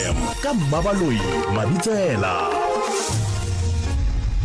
Ka Mmabaloi Mabitsela.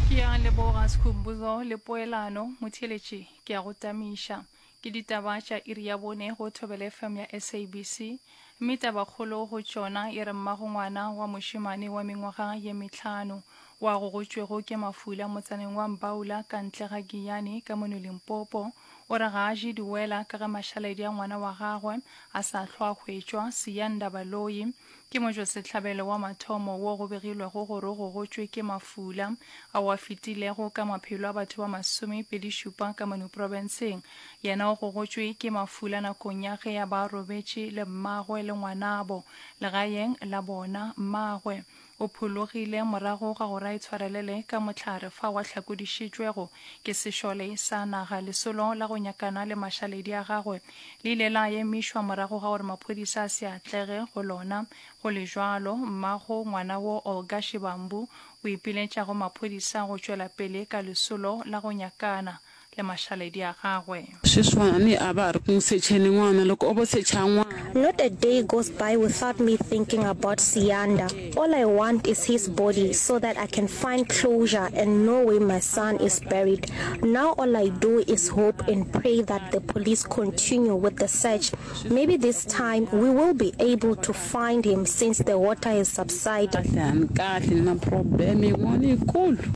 Ke a leboga Skhumbuzo le poelano. Motheeletši, ke a go tamiša. Ke ditaba tša iri ya bone go Thobela FM ya SABC. Mme tabakgolo go tšona e re mmago ngwana wa mošemane wa mengwaga ye mehlano wa gogotšwego ke mafula motsaneng wa Mbaula ka ntle ga Giyani ka mono Limpopo o re ga a je diwela ka ge mašaledi a ngwana wa gagwe a sa hlwa a hwetšwa. Siyanda Baloyi ke motšwasehlabelo wa mathomo wo go begilwego gore o gogotšwe ke mafula ao a fetilego ka maphelo a batho ba masomepedišupa ka mono profenseng. Yena o gogotšwe ke mafula nakong ya ge a ba robetše le mmagwe le ngwanabo legaeng la bona. Mmagwe O phologile morago ga gore a itshwarelele ka mohlare fao a hlakodišitšwego ke sešole sa naga. Lesolo la go nyakana le mašaledi a gagwe le ile la emišwa morago ga gore maphodisa a se atlege go lona. Go le bjalo, mmago ngwana wo Olga Shibambu o ipiletša go maphodisa go tšwela pele ka lesolo la go nyakana le mašaledi a gagwe. Sweswani a ba re ku secheni ngwana loko o bo secha ngwana. Not a day goes by without me thinking about Siyanda. All I want is his body so that I can find closure and know where my son is buried. Now all I do is hope and pray that the police continue with the search. Maybe this time we will be able to find him since the water has subsided. Kahle a ni kahle ni na problem yin'wana yikulu.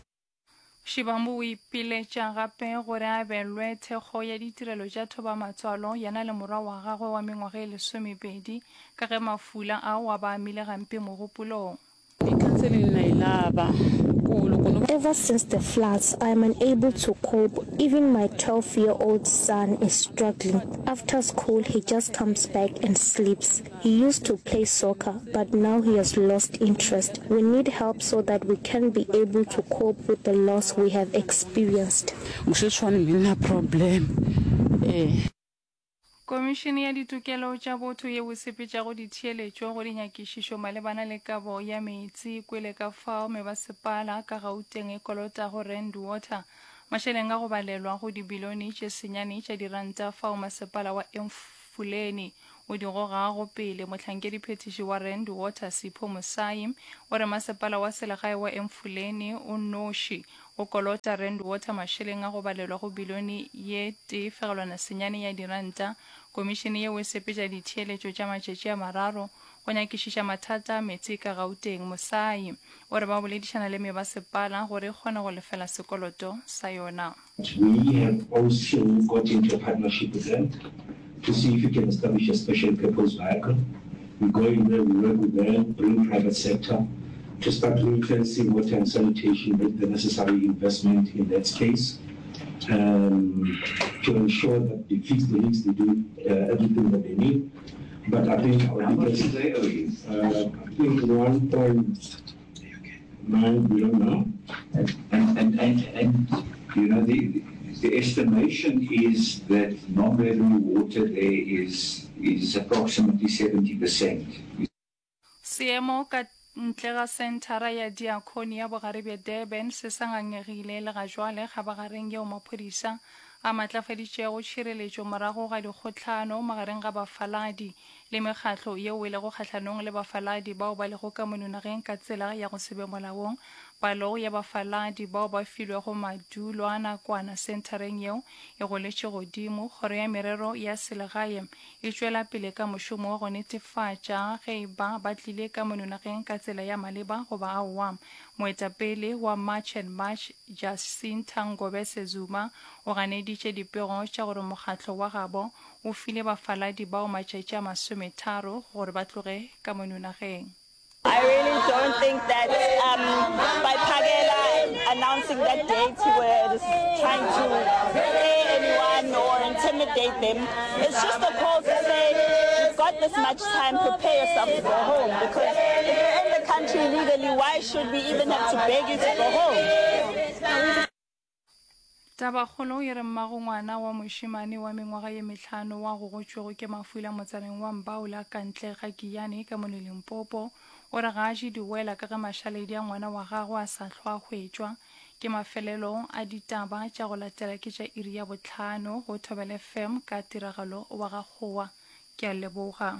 Shibambu o ipiletša gape gore a abelwe thekgo ya ditirelo tša thobamatswalo yena le morwa wa gagwe wa mengwaga e lesomepedi ka ge mafula ao a ba amile gampe mogopolong. I-counseling na yi lava ku loko no va. Ever since the floods, I am unable to cope, even my 12 year old son is struggling, after school he just comes back and sleeps. He used to play soccer, but now he has lost interest. We need help so that we can be able to cope with the loss we have experienced. Sweswiwani mi na problem eh. Komišene ya Ditokelo tša Botho yeo e sepetšago ditheeletšo go dinyakišišo malebana le kabo ya meetse e kwele ka fao mebasepala ka Gauteng e kolotago Rand Water mašeleng a go balelwa go dibilione tše senyane tša diranta fao masepala wa Emfuleni o di gogago pele. Mohlankediphethiši wa Rand Water Sipho Mosai o re masepala wa selegae wa Emfuleni o nnoši o kolota Rand Water mašeleng a go balelwa go bilione ye tee fegelwana senyane ya diranta. Komišene yeo e sepetša ditheeletšo tša matšatši a mararo go nyakišiša mathata a meetse ka Gauteng. Mosai o re ba boledišana le mebasepala gore e kgone go lefela sekoloto sa yona. We have also got into a partnership with them to see if we can establish a special purpose vehicle. We go in there, we work with them, bring private sector to start ring-fencing water and sanitation, make the necessary investment in that space um, to ensure that they fix the leaks, they do uh, everything that they need. But I think our How biggest, much do they owe you? Uh, I think 1.9 billion now. And, and, and, and, you know, the, the estimation is that non-revenue water there is, is approximately 70%. Seemo ka ntle ga Senthara ya Diakoni ya Bogare bja Durban se sa ngangegile le ga jwale kgabagareng yeo maphodisa a matlafaditšego tšhireletšo morago ga dikgohlano magareng ga bafaladi le mekgatlo yeo e lego kgahlanong le bafaladi bao ba lego ka mono nageng ka tsela ya go se be molaong. Palo ya bafaladi bao ba filwego madulo a nakwana senthareng yeo e goletše godimo. Kgoro ya Merero ya Selegae e tšwela pele ka mošomo wa go netefatša ge e ba ba tlile ka mono nageng ka tsela ya maleba goba aowa. Moetapele wa March and March Jacinta Ngobese Zuma o ganeditše dipego tša gore mokgatlo wa gabo O file bafaladi bao matšatši a masometharo gore ba tloge ka mono nageng. I really don't think that um, by Phakela announcing that date, he was trying to scare anyone or intimidate them. It's just a call to say, you've got this much time, prepare yourself to go home. Because if you're in the country legally, why should we even have to beg you to go home? Tabakgolo e re mmago ngwana wa mošemane wa mengwaga ye mehlano wa gogotšwego ke mafula motsaneng wa Mbaula ka ntle ga Giyani ka mono Limpopo o re ga a je diwela ka ge mašaledi a ngwana wa gagwe a sa hlwa a hwetšwa. Ke mafelelo a ditaba tša go latela ke tša iri ya bohlano go Thobela FM ka tiragalo wa ga Kgowa. Ke a leboga.